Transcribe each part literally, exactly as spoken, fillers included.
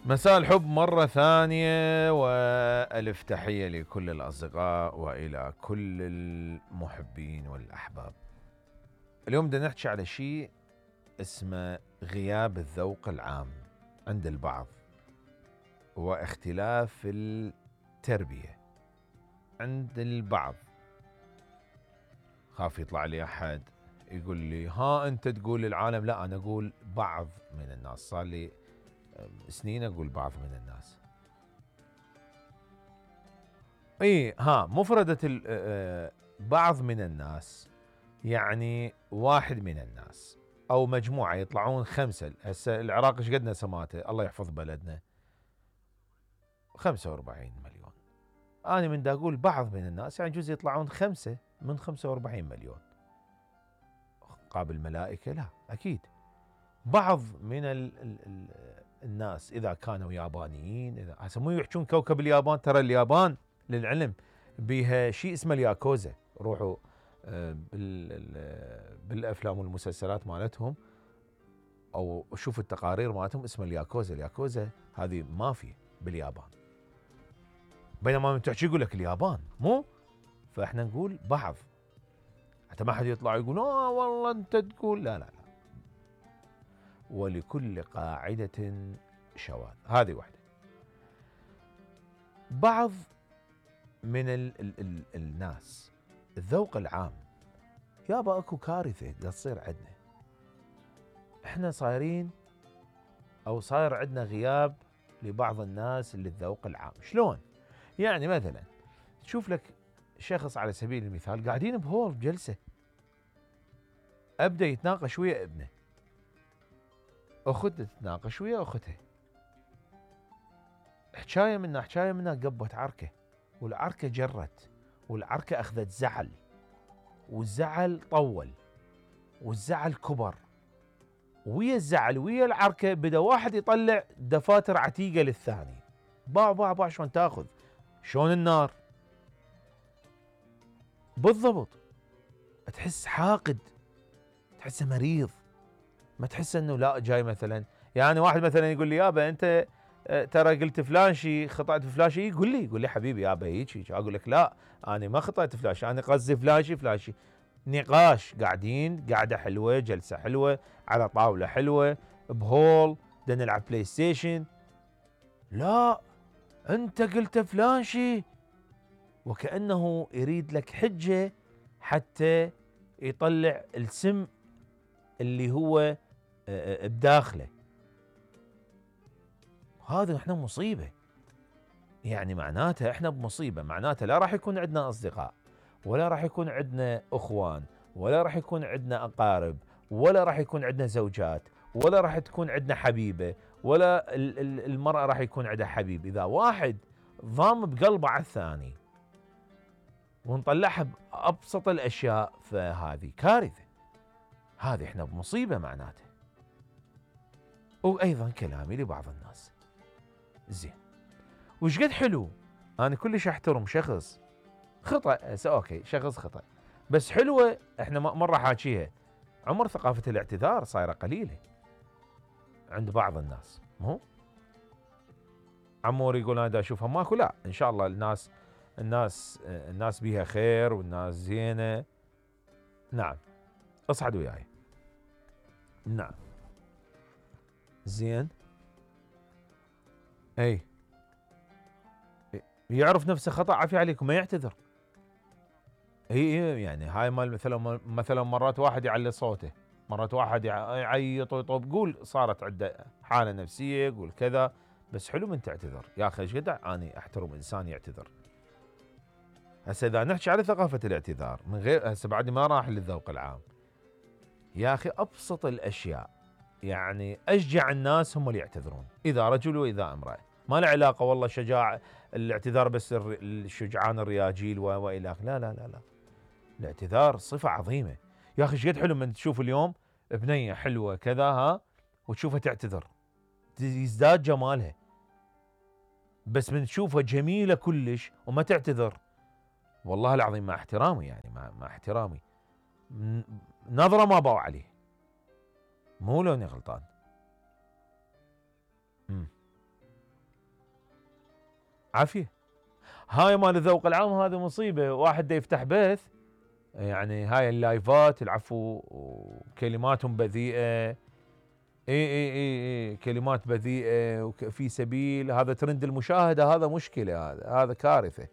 مساء الحب مرة ثانية وألف تحية لكل الأصدقاء وإلى كل المحبين والأحباب. اليوم بدنا نحكي على شيء اسمه غياب الذوق العام عند البعض واختلاف التربية عند البعض. خاف يطلع لي أحد يقول لي ها أنت تقول العالم، لا أنا أقول بعض من الناس، صار لي سنين اقول بعض من الناس. اي ها مفردة بعض من الناس يعني واحد من الناس او مجموعة يطلعون خمسة. هسه العراق ايش قدنا سماته الله يحفظ بلدنا خمسة واربعين مليون. انا من دا اقول بعض من الناس يعني جزء يطلعون خمسة من خمسة واربعين مليون. قابل ملائكة لا اكيد. بعض من ال ال ال الناس اذا كانوا يابانيين، اذا هسه مو يحجون كوكب اليابان، ترى اليابان للعلم بها شيء اسمه الياكوزا. روحوا بالافلام والمسلسلات مالتهم او شوفوا التقارير مالتهم اسمها الياكوزا. الياكوزا هذه مافيا باليابان، بينما من تحكي يقول لك اليابان مو. فاحنا نقول بعض حتى ما حد يطلع يقول اه والله انت تقول لا لا لا. ولكل قاعدة شواذ، هذه واحدة. بعض من ال ال ال الناس الذوق العام يابا اكو كارثة دا تصير عندنا. احنا صايرين او صاير عندنا غياب لبعض الناس اللي الذوق العام. شلون؟ يعني مثلا تشوف لك شخص على سبيل المثال قاعدين بهول بجلسة، ابدا يتناقش ويا ابنه، اخته تتناقش ويا اختها، حكايه منا حكايه منا قبت عركه، والعركه جرت، والعركه اخذت زعل، والزعل طول، والزعل كبر، ويا الزعل ويا العركه بدا واحد يطلع دفاتر عتيقه للثاني. باع باع باع شلون تاخذ؟ شلون النار؟ بالضبط. تحس حاقد، تحسه مريض، ما تحس انه لا جاي مثلا. يعني واحد مثلا يقول لي يابا انت ترى قلت فلان شيء، خطأت فلان شيء، يقول لي يقول لي حبيبي يابا هيك هيك، اقول لك لا انا ما خطأت فلان شيء، انا قصدي فلان شيء فلان شيء. نقاش، قاعدين قاعده حلوه، جلسه حلوه على طاوله حلوه بهول، بدنا نلعب بلاي ستيشن. لا انت قلت فلان شيء، وكأنه يريد لك حجه حتى يطلع السم اللي هو بداخله. هذا احنا مصيبه. يعني معناته احنا بمصيبه، معناته لا راح يكون عندنا اصدقاء، ولا راح يكون عندنا اخوان، ولا راح يكون عندنا اقارب، ولا راح يكون عندنا زوجات، ولا راح تكون عندنا حبيبه، ولا المراه راح يكون عندها حبيب. اذا واحد ضام بقلبه على الثاني ونطلعها بابسط الاشياء فهذه كارثه. هذه احنا بمصيبه معناته. وايضا كلامي لبعض الناس زين وش قد حلو. انا كلش احترم شخص خطأ، اوكي شخص خطأ، بس حلوه. احنا مره حاكيها، عمر ثقافه الاعتذار صايره قليله عند بعض الناس. مو عمور يقول انا دا اشوفها ماكو، لا ان شاء الله الناس الناس الناس بيها خير والناس زينه. نعم اصعد وياي. نعم زين. اي يعرف نفسه خطأ عافية عليكم ما يعتذر. هي يعني هاي مال مثلا مثلا مرات واحد يعلي صوته، مرات واحد يعيط ويطوب، قول صارت عنده حالة نفسية، قول كذا، بس حلو من تعتذر يا اخي. ايش قد اني احترم انسان يعتذر. هسه اذا نحكي على ثقافة الاعتذار من غير، هسه بعد ما راح للذوق العام يا اخي، ابسط الاشياء يعني اشجع الناس هم اللي يعتذرون، اذا رجل واذا امرأة، ما له علاقة والله شجاع الاعتذار بس الشجعان الرياجيل والى اخره. لا لا لا لا، الاعتذار صفة عظيمة يا اخي. ايش قد حلو من تشوف اليوم بنية حلوة كذا ها وتشوفها تعتذر، يزداد جمالها. بس من تشوفها جميلة كلش وما تعتذر، والله العظيم مع احترامي يعني مع, مع احترامي نظرة ما باو عليه. مو لو اني غلطان. امم عافيه. هاي مال الذوق العام هذا مصيبه، واحد دا يفتح بث يعني هاي اللايفات العفو وكلماتهم بذيئه، اي اي اي اي كلمات بذيئه وفي سبيل هذا ترند المشاهده، هذا مشكله، هذا هذا كارثه،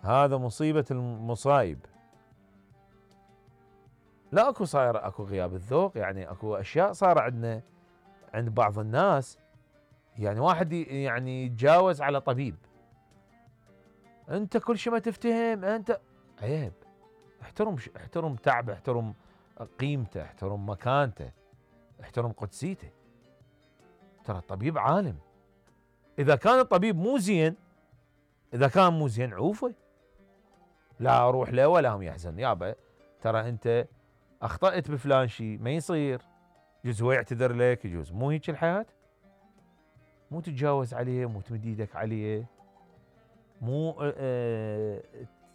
هذا مصيبه المصايب. لا اكو صاير اكو غياب الذوق، يعني اكو اشياء صار عندنا عند بعض الناس، يعني واحد يعني يتجاوز على طبيب، انت كل شيء ما تفتهم انت، عيب. احترم احترم تعبه، احترم قيمته، احترم مكانته، احترم قدسيته. ترى الطبيب عالم، اذا كان الطبيب مو زين، اذا كان مو زين عوفه، لا اروح له ولا هم يحزن، يابا ترى انت اخطأت بفلان شيء ما يصير، يجوز هو يعتذر لك، يجوز مو هيك الحياة، مو تتجاوز عليه، مو تمد ايدك عليه، مو اه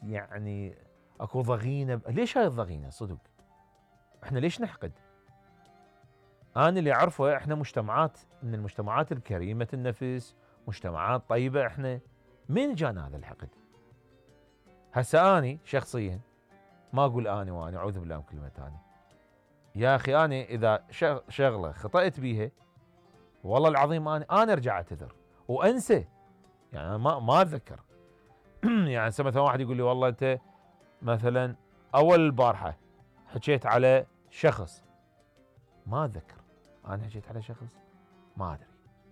يعني اكو ضغينه. ليش هاي الضغينه صدق؟ احنا ليش نحقد؟ انا اللي اعرفه احنا مجتمعات من المجتمعات الكريمه النفس، مجتمعات طيبه احنا، من جانا هذا الحقد؟ هسه اني شخصيا ما اقول اني واني اعوذ بالله من كلمه اني، يا اخي اني اذا شغله خطأت بيها والله العظيم انا انا ارجع اعتذر وانسى، يعني أنا ما ما اتذكر. يعني مثلا واحد يقول لي والله انت مثلا اول البارحه حكيت على شخص، ما اتذكر انا حكيت على شخص، ما ادري،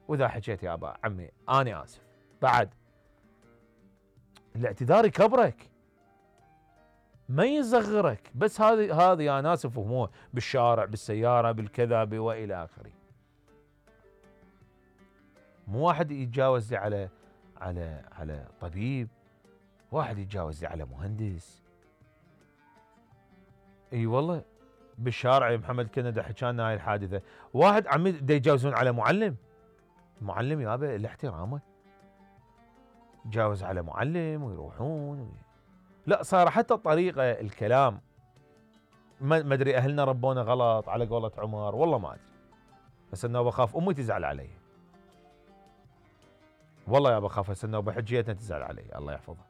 واذا حكيت يا ابا عمي انا اسف، بعد الاعتذار يكبرك ما يصغرك، بس هذه هذه يا ناس فهموها بالشارع بالسياره بالكذا والى اخره. مو واحد يتجاوز لي على على على طبيب، واحد يتجاوز لي على مهندس. اي والله بالشارع محمد كندا حكى لنا هاي الحادثه، واحد عمي دا يتجاوزون على معلم، المعلم يابا الاحترامه، يتجاوز على معلم ويروحون وي... لا صار حتى الطريقه الكلام ما ادري اهلنا ربونا غلط على قولة عمر، والله ما ادري، بس انه بخاف امي تزعل علي، والله يابا خاف هسه انه بحجيتنا تزعل علي الله يحفظها،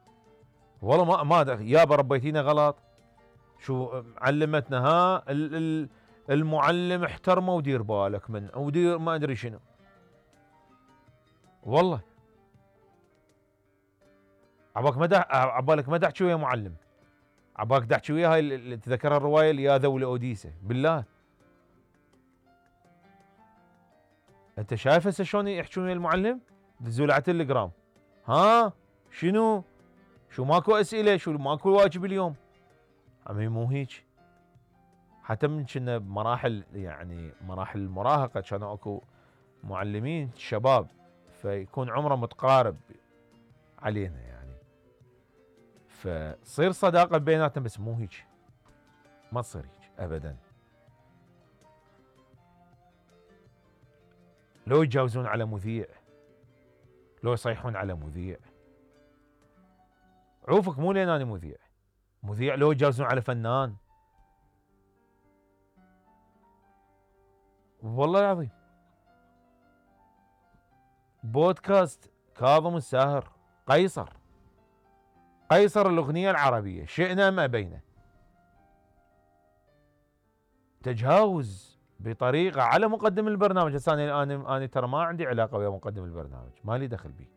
والله ما ما ادري يابا ربيتينا غلط، شو علمتنا ها المعلم احترمه ودير بالك من ودير ما ادري شنو، والله عبالك ما عبالك ما تحكي ويا معلم، عبالك تحكي ويا هاي اللي تذكرها الروايه اللي يا ذوي اوديسه، بالله انت شايف هسه شلون يحكون ويا المعلم؟ دزوا على التليجرام، ها شنو؟ شو ماكو اسئله؟ شو ماكو واجب اليوم؟ عمي مو هيك، حتى من كنا بمراحل يعني مراحل المراهقه كانوا اكو معلمين شباب فيكون عمره متقارب علينا يعني، فتصير صداقه بيناتنا، بس مو هيك، ما تصير هيك ابدا. لو يتجاوزون على مذيع، لو يصيحون على مذيع، عوفك مو لين انا مذيع، مذيع لو يتجاوزون على فنان، والله العظيم. بودكاست كاظم الساهر، قيصر قيصر الاغنيه العربيه شئنا ام ابينا، تجاوز بطريقه على مقدم البرنامج. هسه انا انا انا ترى ما عندي علاقه ويا مقدم البرنامج، ما لي دخل بيه،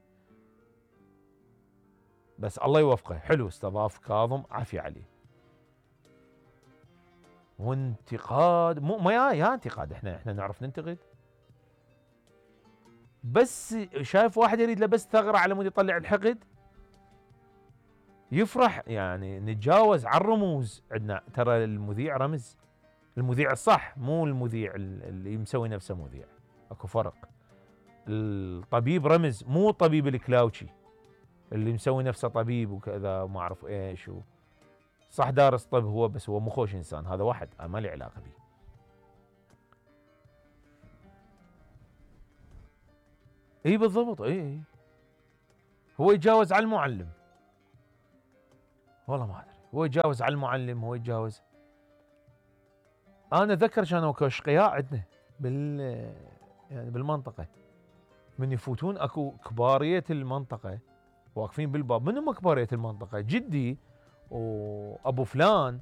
بس الله يوفقه، حلو استضاف كاظم عافية عليه. وانتقاد مو ما يا, يا انتقاد، احنا احنا نعرف ننتقد، بس شايف واحد يريد له بس ثغره على مود يطلع الحقد، يفرح يعني. نتجاوز على الرموز، عندنا ترى المذيع رمز، المذيع الصح مو المذيع اللي مسوي نفسه مذيع، اكو فرق. الطبيب رمز مو الطبيب الكلاوشي اللي مسوي نفسه طبيب وكذا ما اعرف ايش و... صح دارس طب هو، بس هو مو خوش انسان، هذا واحد ما لي علاقه به. اي بالضبط، اي اي هو يتجاوز على المعلم، والله ما ادري، هو يتجاوز على المعلم، هو يتجاوز. انا اتذكر كانوا اكو اشقياء عندنا بال يعني بالمنطقه، من يفوتون اكو كبارية المنطقة واقفين بالباب. من هم كبارية المنطقة؟ جدي وابو فلان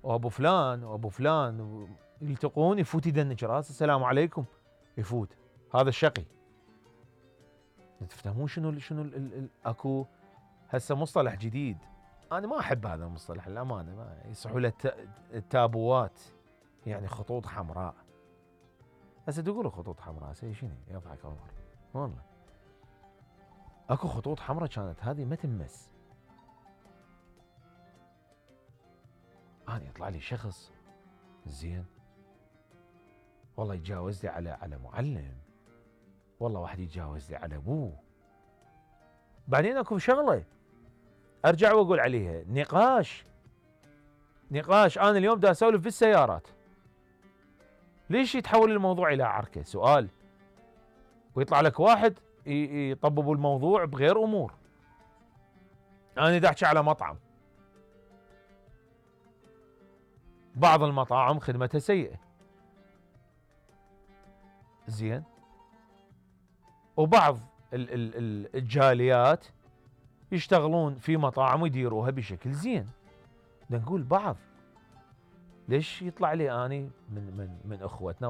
وابو فلان وابو فلان، يلتقون يفوت يدنج راسه السلام عليكم، يفوت هذا الشقي. تفهمون شنو شنو ال ال ال اكو هسه مصطلح جديد، انا ما احب هذا المصطلح الامانه، ما يصحوا له التابوات، يعني خطوط حمراء. هسه تقولوا خطوط حمراء هسه شنو؟ يضحك عمر والله. اكو خطوط حمراء كانت هذه ما تمس. انا يطلع لي شخص زين والله يتجاوز لي على على معلم، والله واحد يتجاوز لي على ابوه. بعدين اكو شغله ارجع واقول عليها، نقاش نقاش انا اليوم دا اسولف بالسيارات، ليش يتحول الموضوع الى عركه؟ سؤال. ويطلع لك واحد يطبب الموضوع بغير امور. انا دا احكي على مطعم، بعض المطاعم خدمتها سيئه زين، وبعض ال ال الجاليات يشتغلون في مطاعم ويديروها بشكل زين. بدنا نقول بعض، ليش يطلع لي اني من من من اخوتنا